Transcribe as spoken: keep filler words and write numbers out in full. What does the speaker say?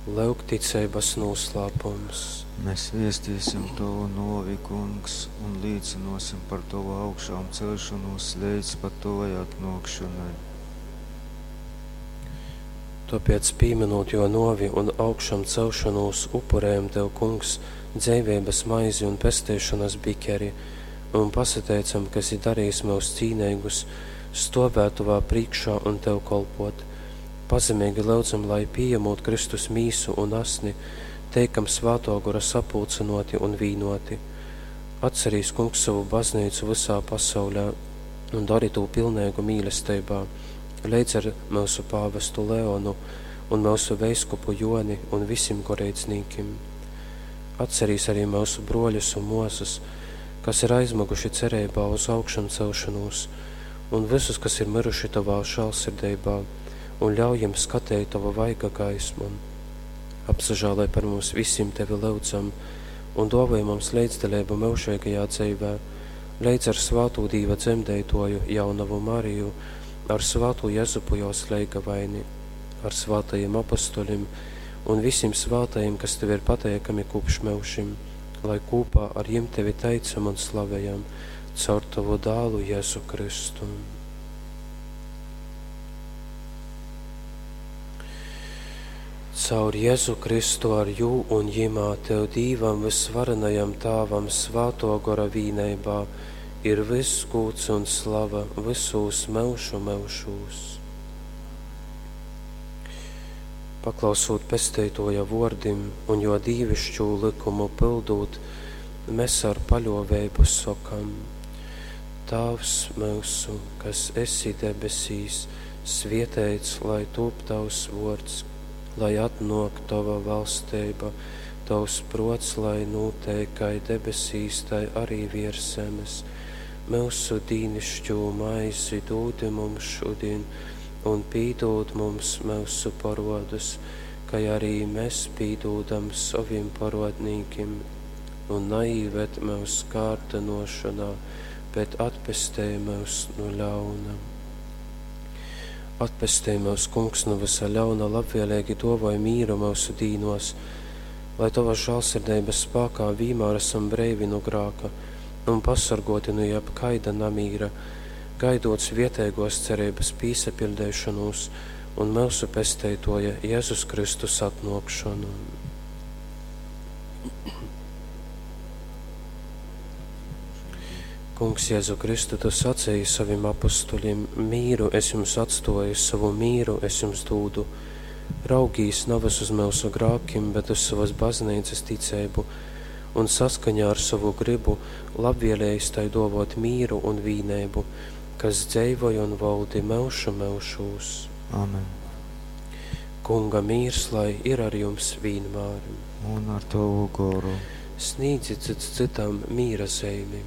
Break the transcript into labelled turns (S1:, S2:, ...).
S1: Lyuk ticeibas nūslāpums.
S2: Mēs viestīsim tovu nōvi, Kungs, un līcynōsim par tovu augšāmceļšonūs leidz pat tovai atnōkšonai.
S1: Tōpēc, pīmynūt jō nōvi un augšamcelšonūs, upurejam tev, Kungs, dzeiveibas maizi un pesteišonas bikeri un pasateicam, ka esi darejis myus cīneigus stōvēt tovā prīškā un tev kolpōt. Pazemeigi lyudzam, lai, pījamūt Kristus mīsu un asni, teikam Svātō Gora sapulcynōti un vīnōti. Atcerīs, Kungs, sovu bazneicu vysā pasaulē un dori tū pilneigu mīlesteibā, leidz ar myusu pāvestu Leonu un myusu veiskupu Joni un visim goreidznīkim. Atcerīs arī myusu brōļus un mōsas, kas ir aizmyguši cereibā uz augšamcelšanūs, un visus, kas ir myruši tovā žālsirdeibā, un ļauj jim skateit tovu vaiga gaismu. Apsažāloj par mums visim tevi lyudzam, un dōvoj mums leidzdaleibu myužeigajā dzeivē, leidz ar svātū Dīva dzemdeitoju jaunavu Mariju, ar svātū Jezupu jōs leigavaini, ar svātajim apostoļim un visim svātajim, kas tev ir pateikami kopš myužim, lai kopā ar jim tevi teicam un slavējam caur tavu dālu Jēzu Kristu. Caur Jēzu Kristu ar jū un jimā tev Dīvam vysvarenajam Tāvam Svātō Gora vīneibā ir vyss gūds un slava vysūs myužu myužūs. Paklausūt Pesteitoja vōrdim un jo dīvišķū lykumu pyldūt, mēs ar paļōveibu sokam: Tāvs myusu, kas esi debesīs, svieteits lai tūp tavs vōrds, lai atnōk tova valsteiba, tavs prōts lai nūteik kai debesīs, tai arī viers zemes. Myusu dīnišķū maizi dūdi mums šodien, un pīdūd mums myusu parodus, kai arī mēs pīdūdam sovim parodnīkim. Un naīved myus kārdinošanā, bet atpestej myus no ļauna. Atpestej myus, Kungs, no visa ļauna, labvēlīgi dōvoj mīru myusu dīnos, lai tovas žālsirdeibas spākā vīmār esam breivi no grāka un pasargoti no jebkaida namīra, gaidot svietēgos cerības pīsapiļdeišanos un myusu pesteitoja Jēzus Kristus atnōkšanu. Kungs, Jēzu Kristu, tu sacīji savim apustuļim: mīru es jums atstoju, savu mīru es jums dūdu. Raugīs navas uz myusu grākim, bet uz savas baznīcas ticību, un saskaņā ar savu gribu labvēlējis tai dovot mīru un vīneibu, kas dzeivoj un valdi myužu myužūs.
S2: Amen.
S1: Kunga mīrs lai ir ar jums vienmēr.
S2: Un ar tavu goru.
S1: Sniedzit cits citam mīra zeimi.